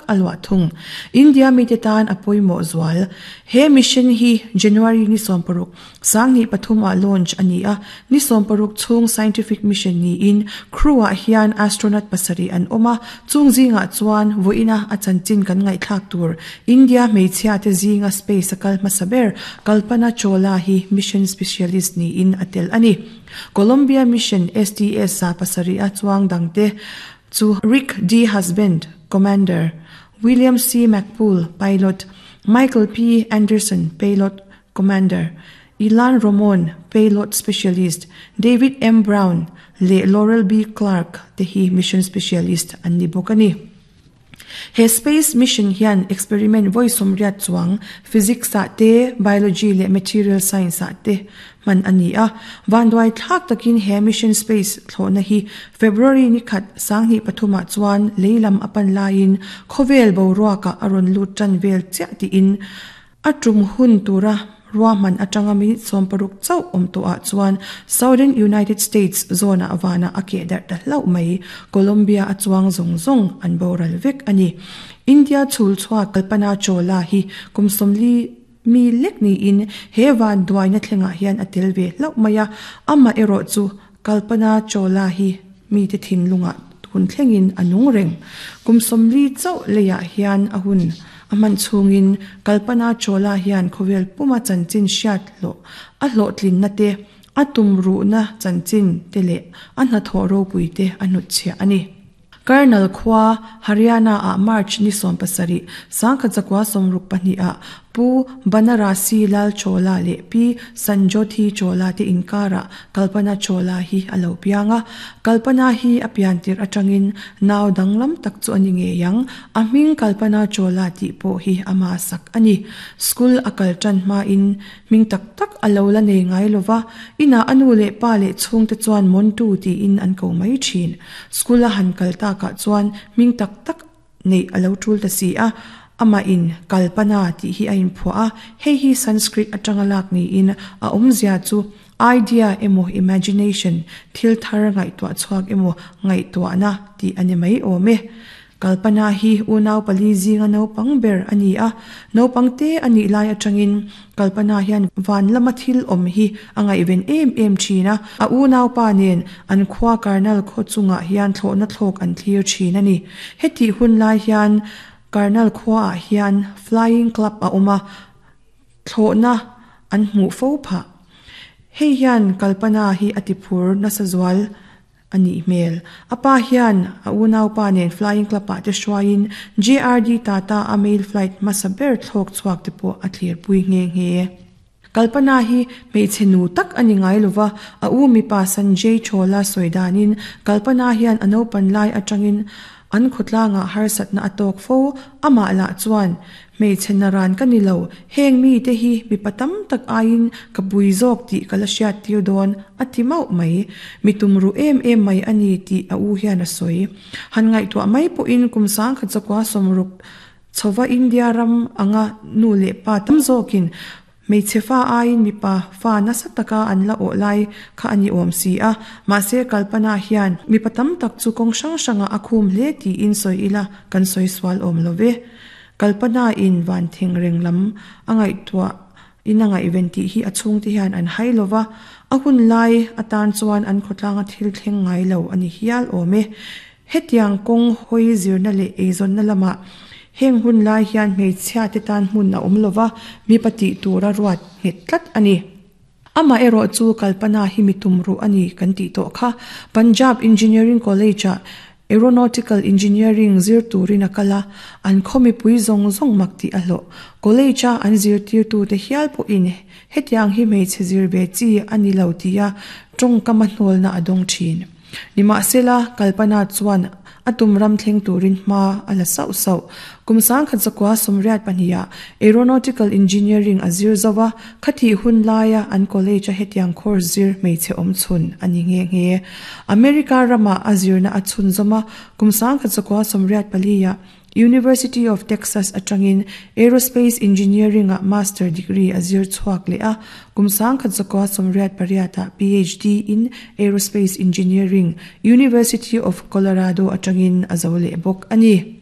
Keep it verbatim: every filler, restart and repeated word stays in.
tak a luah thung. India mite tan a pawimawh zual. He mission hi January ni sawmparuk sanghnih pathum ah launch a ni a, ni sawmparuk chhung scientific mission niin crew ah hian astronaut pasarih an awm a, chung zingah chuan vawiina a chanchin kan ngaihthlak tur India hmeichhia te zinga space a kal hmasa ber Kalpana Chawla hi mission specialist niin a tel a ni. Columbia mission S T S za pasarih a chuang dangte chu Rick D. Husband, Commander, William C. McPool, Pilot, Michael P. Anderson, Payload Commander, Ilan Ramon, Payload Specialist, David M. Brown leh Laurel B. Clark te hi Mission Specialist an ni bawk a ni. He space mission hian experiment vawi sawmriat chuang physics ah te, biology leh material science ah te hman a ni a. Vanduai thlak takin he mission space thlawhna hi February ni khat sanghnih pathumah chuan leilam a pan laiin khawvel boruakah a rawn lut tan vel chiah tiin a tum hun tura ruahman atanga minute sawmparuk chauh awm tawhah chuan Southern United States zone ah vana a keh darh ta hlauh mai. Columbia a chuang zawng zawng an boral vek a ni. India chhul chhuak Kalpana Chawla hi kum sawmli mi lek niin he van duaina thlengah hian a tel ve hlauh mai a, amah erawh chu Kalpana Chawla hi mi te thinlungah tun thlengin a nung reng. Kum sawmli chauh leiah hian a hun a hman chhungin Kalpana Chawla hian khawvel puma chanchin hriat hlawh a hlawhtlinna te, a tum ruhna chanchin te leh a hnathawh ropui te a hnutchhiah a ni. Karnal khua Haryana ah March ni sawm pasarih sangkhat zakua sawmruk pahnih ah Pu Banarasi Lal Chawla leh Pi Sanjothi Chawla te inkara Kalpana Chawla hi a lo piang a. Kalpana hi a pian tirh atangin nau danglam tak chu a ni ngei ang. A hming Kalpana Chawla tih pawh hi ama sak a ni. School a kal tan hmain hming tak tak a lo la nei ngai lova, ina a nu leh pa leh chhung te chuan Montu tiin an ko mai thin. School a han kal takah chuan hming tak tak nei a lo tul ta si a, ama in Kalpana tih hi a inphuah a, hei hi Sanskrit atanga lak niin a awmzia chu idea emaw imagination thil thar ngaihtuah chhuak emaw ngaihtuahna tih a ni mai awm e. Kalpana hi unau pali zinga naupang ber a ni a, naupang te a nih lai atangin Kalpana hian van lama thil awm hi a ngaihven em em thin a, a unau pa nen an khua Karnal khaw chungah hian thlawhna thlawk an thlir thin a ni. Heti hun lai hian Karnal khua ah hian flying club a awm a, thlawhna an hmuh fo phah. Hei hian Kalpana hi a ti phur nasa zual a nih hmel. A pa hian a unau pa nen flying club ah te hruaiin J R D Tata a mail flight hmasa ber thlawk chhuak te pawh a thlir pui nghe nghe. Kalpana hi hmeichhe nu tak a ni ngai lova, a u mipa Sanjay Chawla sawi danin Kalpana hian a naupan lai atangin an khawtlangah harsatna a tawk fo. Amah lah chuan hmeichhe naran ka ni lo, heng mi te hi mipa tam tak aiin ka pui zawk tih ka la hriat tir dawn a ti mauh mai. Mi tum ru em em mai a ni tih a u hian a sawi. Han ngaihtuah mai pawhin kum sangkhat zakua sawmruk chhowa India ram anga nu leh pa tam zawkin hmeichhe fa aiin mipa fa nasa taka an la awh lai kha a ni awm si a, mahse Kalpana hian mipa tam tak chu kawng hrang hrangah a khum hle tiin sawi ila kan sawi sual awm love. Kalpana in van thing reng lam a ngaihtuah in a ngaihven tih hi a chhung te hian an hai lova, a hun lai atan chuan an khawtlanga thil thleng ngai lo a ni hial awm e. Hetiang kawng hawi zirna leh eizawnna lamah heng hun lai hian hmeichhia te tan hmun a awm lova, mipa tih tura ruat nghet tlat a ni. Amah erawh chu Kalpana hi mi tum ruh a ni kan tih tawh kha. Punjab Engineering College ah Aeronautical Engineering zir turin a kal a, an khaw mipui zawng zawng mak tih a hlawh. College a an zirtir tu te hial pawhin hetiang hi hmeichhe zir ve chi a ni lo tia tawngkam a hnawlna a dawng thin. Nimahsela Kalpana chuan a tum ram thleng turin hma a la sauh sauh. Kum sangkhat zakua sawmriat pahnih ah Aeronautical Engineering a zir zo a, khathi hun laia an college a hetiang course zir hmeichhe awm chhun a ni nghe nghe. America rama a zirna a chhun zawm a, kum sangkhat zakua sawmriat pali ah University of Texas atangin Aerospace Engineering ah master degree a zir chhuak leh a, kum sangkhat zakua sawmriat pariat ah P H D in Aerospace Engineering University of Colorado atangin a zo leh bawk a ni.